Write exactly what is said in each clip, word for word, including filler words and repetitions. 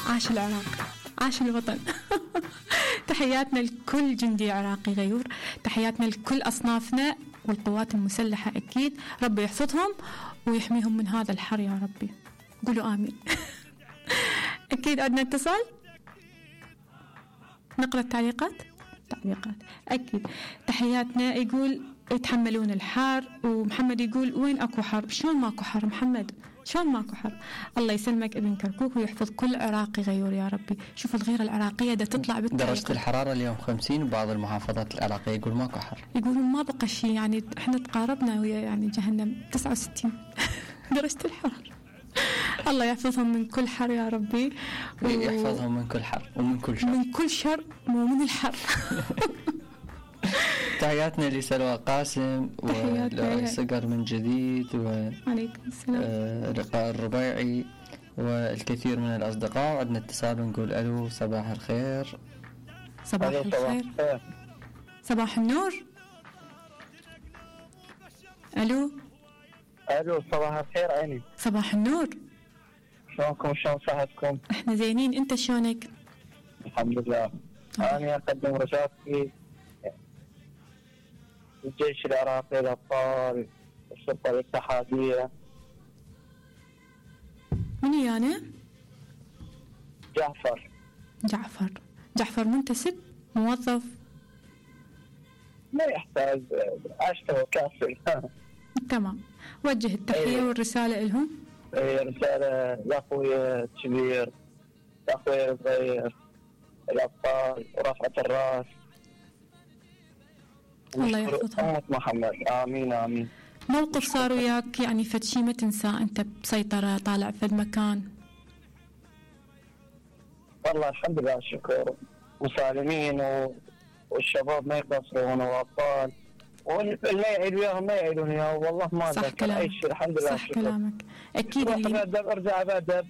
عاش العراق، عاش الوطن. تحياتنا لكل جندي عراقي غيور، تحياتنا لكل أصنافنا والقوات المسلحة أكيد، ربي يحفظهم ويحميهم من هذا الحر يا ربي، قولوا آمين. أكيد عندنا اتصال، نقرأ التعليقات. تعليقات أكيد. تحياتنا، يقول يتحملون الحار، ومحمد يقول وين أكو حر؟ شلون ماكو حر محمد؟ شلون ماكو حر؟ الله يسلمك ابن كركوك ويحفظ كل عراقي غيور يا ربي. شوف الغيرة العراقية دا تطلع بالتعليقات. درجة الحرارة اليوم خمسين، وبعض المحافظات العراقية يقول ماكو حر، يقولون ما بقى شيء، يعني احنا تقاربنا ويا يعني جهنم تسعة وستين درجة الحرارة. الله يحفظهم من كل حر يا ربي، ويحفظهم من كل حر ومن كل شر، من كل شر ومن الحر. تحياتنا لسلوى قاسم وصقر من جديد وعليكم السلام آه لقاء الربيعي والكثير من الأصدقاء. وعندنا اتصال ونقول ألو، صباح الخير. صباح الخير، صباح النور. ألو ألو، صباح الخير عيني. صباح النور، شلونكم؟ شلون صحتكم؟ احنا زينين، انت شلونك؟ الحمد لله. أنا أقدم رسالتي الجيش العراقي، الأبطال، الشرطة الاتحادية. من يعني؟ جعفر. جعفر جعفر منتسب، موظف؟ ما يحتاج، أشتغل كافي. تمام، وجه التحية أيه. والرسالة لهم. ايه، رسالة لأخوي الكبير، لأخوي الصغير، الأبطال ورفعة الرأس. الله يحفظهم. أمة محمد، آمين آمين. موقف صار وياك يعني فد شي ما تنساه، أنت بسيطرة طالع فد مكان؟ والله الحمد لله الشكر، وسالمين و... والشباب ما يقصرون، والأبطال واللي يعيد وياهم ما يعيدون وياه، والله ما ذكر أي شيء. الحمد لله. صح الشكر. كلامك أكيد. اللي بأدب ارجع بأدب،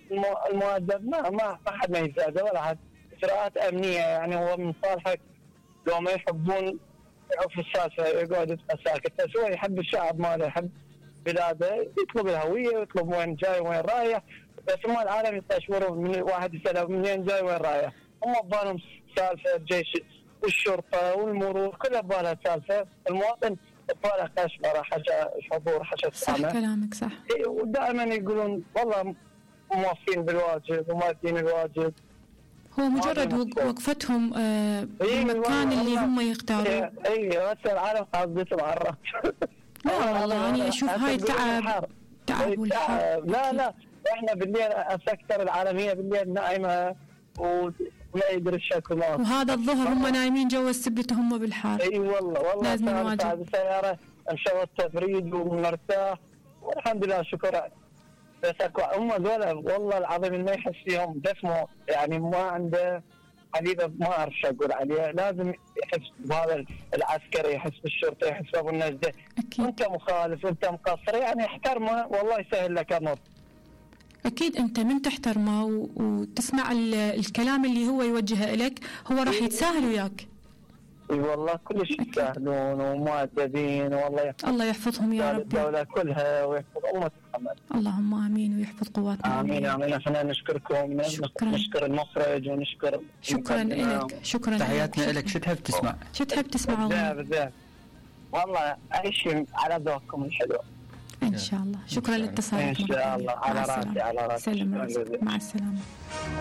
المؤدب ما ما أحد ما يزاد ولا أحد. إجراءات أمنية يعني، هو من صالحك لو ما يحبون يعرف السالفة يقعد يبقى ساكت، بس هو يحب الشعب ماله، يحب بلاده، يطلب الهوية ويطلب وين جاي وين رايح. بس ما العالم يستشورون من واحد يسأله منين جاي وين رايح، هم ببالهم سالفة الجيش والشرطة والمرور كلها ببالها سالفة، المواطن بباله كشمرة، حاجة حضور، حاجة صح كلامك صح. ودائما يقولون والله موفين بالواجب ومادين الواجب. هو مجرد وقفتهم آه بالمكان اللي هم يختاروا. اي هسه العالم قاصدتهم على الراس. لا والله انا اشوف هاي تعب تعب والحر. لا لا احنا بالليل السكتر العالميه بالليل نائمه ولا يدري الشكل، وهذا الظهر هم نايمين جوا السبت هم بالحار. اي والله والله لازم نواجه. السياره مشوى التبريد ومرتاح والحمد لله شكرا. بس اكو هم ذولا والله العظيم ما يحس فيهم جسمه، يعني ما عنده حبيبه، ما اعرف شو اقول عليه، لازم يحس بهذا العسكري، يحس بالشرطه، يحس بابو النجده. انت مخالف وانت مقصر يعني احترمه والله يسهل لك امر. اكيد انت من تحترمه وتسمع الكلام اللي هو يوجهه لك هو راح يتساهل وياك. اي والله كلش يستاهلون ومؤدبين، والله الله يحفظهم يا رب. الدولة كلها ويحفظ أمة محمد. اللهم آمين ويحفظ قواتنا. آمين آمين. احنا نشكركم، شكرا. نشكر المخرج ونشكر شكرا لك. شكرا. تحياتنا لك. شو تحب تسمع؟ شو تحب تسمع؟ بالذات بالذات والله أي شيء على ذوقكم الحلو. إن شاء الله. شكرا لاتصالك. إن شاء الله. على راسي على راسي. سلام. مع السلامة.